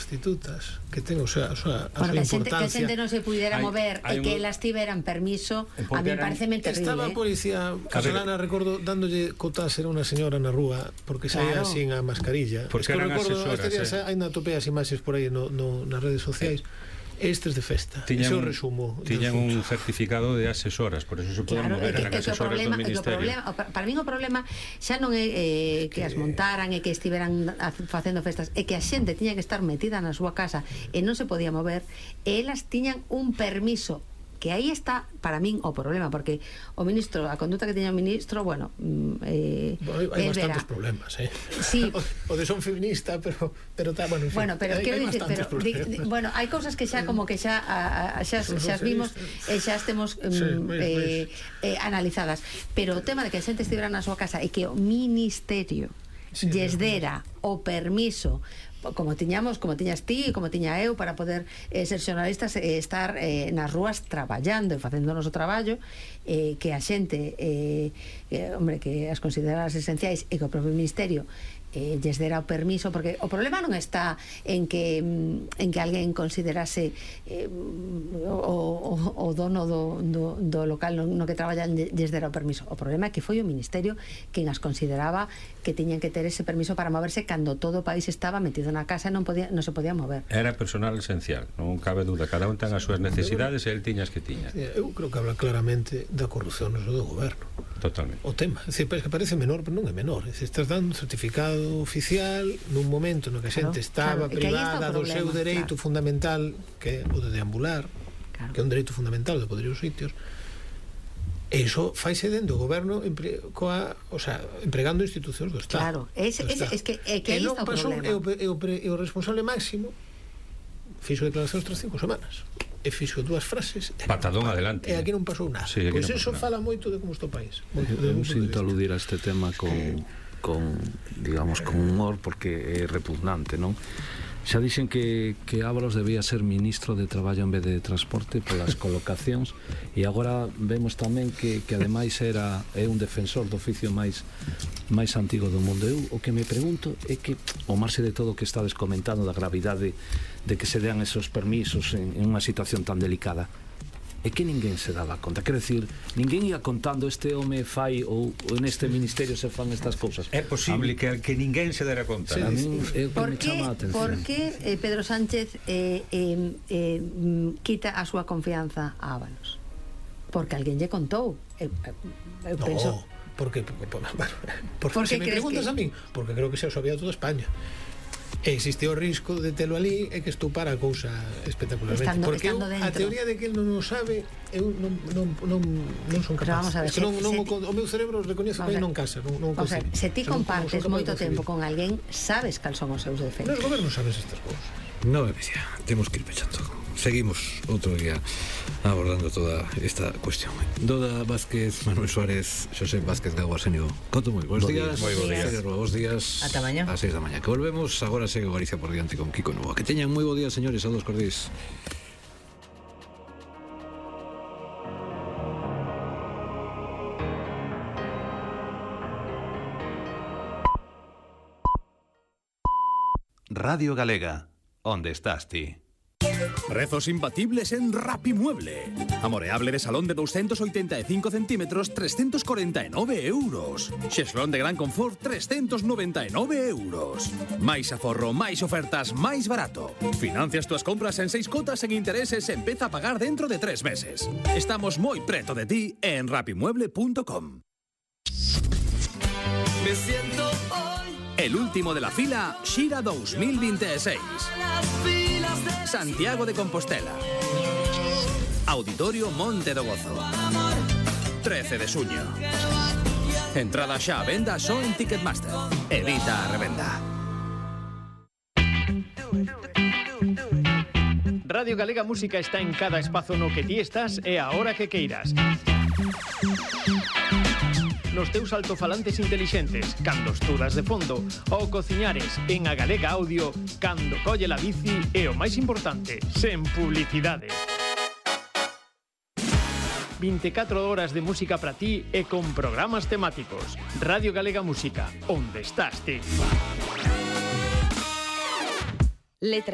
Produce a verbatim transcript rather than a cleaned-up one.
prostitutas que ten o sea, a súa bueno, importancia. Que a xente non se pudera mover e que elas tiveran permiso, a mí pareceme terrible. Estaba a policía casolana, recordo, dándolle cotas era unha señora na rúa porque saía claro. sin a mascarilla. Porque eran asesoras, este días eh? ainda atopei as imaxes por aí no, no, nas redes sociais. Estes de festa, tiñan, ese é o resumo. Tiñan un certificado de asesoras, por eso se poden claro, mover, que, eran que asesoras problema, do Ministerio. Problema, para mí o problema xa non é eh, que, que as montaran e que estiveran facendo festas, é que a xente tiña que estar metida na súa casa e non se podía mover, e elas tiñan un permiso, que aí está para min o problema, porque o ministro, a conduta que teña o ministro, bueno, eh, bueno hai, hai bastantes verá. problemas, eh. Sí. o, o de son feminista, pero pero tá, bueno, en fin, bueno, pero hai, quero hai dicir, pero di, di, bueno, hai cousas que xa como que xa a, a, xa, xa as vimos e xa estemos um, sí, eh, eh, analizadas, pero o tema de que a xente estivera na súa casa e que o ministerio sí, lles dera o permiso como tiñamos, como tiñas ti, como tiña eu, para poder eh, ser xornalistas e eh, estar eh, nas rúas traballando e facendo o noso traballo, eh, que a xente eh, eh, hombre, que as consideradas esenciais e que o propio ministerio eh, lles dera o permiso, porque o problema non está en que en que alguén considerase eh, o, o, o dono do, do, do local no, no que traballan lles dera o permiso. O problema é que foi o ministerio quen as consideraba que tiñan que ter ese permiso para moverse cando todo o país estaba metido na casa e non podía, non se podía mover. Era personal esencial, non cabe duda, cada un ten as súas necesidades e el tiña as que tiña. Eu creo que habla claramente da corrupción no do goberno. Totalmente. O tema, é dicir, que parece menor, pero non é menor. É dicir, estás dando un certificado oficial nun momento no que a xente claro, estaba claro, privada do seu dereito claro. fundamental, que é o de deambular, claro. que é un dereito fundamental de poder ir aos sitios. E iso faise dentro do goberno empre, coa, o sea, empregando institucións do Estado. Claro, es, es, es que, é que aí está o problema. E o, e, o, e o responsable máximo fixo declaracións tras cinco semanas e fixo dúas frases patadón adelante, e aquí non pasou nada. Sí, pois no eso fala moito de como está o país. Eu sinto aludir a este tema con, con digamos, con humor, porque é repugnante, non? Xa dixen que, que Ábalos debía ser ministro de Traballo en vez de Transporte polas colocacións, e agora vemos tamén que, que ademais era é un defensor do oficio máis máis antigo do mundo. Eu o que me pregunto é que, ao marxe de todo o que estades comentando da gravidade de que se dean esos permisos en, en unha situación tan delicada, é que ninguén se daba conta. Quero dicir, ninguén ia contando este home fai ou neste ministerio se fan estas cousas. É posible que, que ninguén se dera conta. Sí, a min é o que por me que, chama a atención. por que eh, Pedro Sánchez eh, eh, eh, quita a súa confianza a Ábalos? Porque alguén lle contou. Eu, eu no, penso... porque, porque, porque, bueno, porque ¿Por se qué me crees preguntas que... a min, porque creo que xa o sabía toda España. E existe o risco de telo ali e que estupara a cousa espectacularmente. Estando, porque estando eu, a teoría de que el non o sabe, eu non, non, non, non son capaz. Ver, es que se, non, non se o, o meu cerebro recoñece que non casa, non, non o sea, se ti compartes moito tempo con alguén, sabes cal son os seus defectos. Nos gobernos sabes estas cousas. No, Becia, temos que ir pechando. Seguimos outro día abordando toda esta cuestión. Doda Vázquez, Manuel Suárez, Xosé Vázquez Gago Arsenio. Conto moi bons días. Moi bons días. Bons días. Ata mañá. A seis da mañá. Que volvemos, agora segue Galicia por diante con Kiko Novoa. Que teñan moi bo día, señores, a dos cordís. Radio Galega, onde estás ti? Prezos imbatibles en Rapimueble. Amoreable de salón de doscientos ochenta y cinco centímetros, trescientos cuarenta y nueve euros. Xeslón de gran confort, trescientos noventa y nueve euros. Máis aforro, máis ofertas, máis barato. Financias túas compras en seis cotas en intereses e empeza a pagar dentro de tres meses. Estamos moi preto de ti en rapimueble punto com. Me siento hoy El último de la fila, Xira dos mil veintiséis. Santiago de Compostela. Auditorio Monte do Gozo. trece de suño. Entrada xa a venda só en Ticketmaster. Evita a revenda. Radio Galega Música está en cada espazo no que ti estás e a hora que queiras. Nos teus altofalantes intelixentes, cando estudas de fondo, ou cociñares en a Galega Audio, cando colle la bici e o máis importante, sen publicidade. veinticuatro horas de música para ti e con programas temáticos. Radio Galega Música, onde estás ti. Letra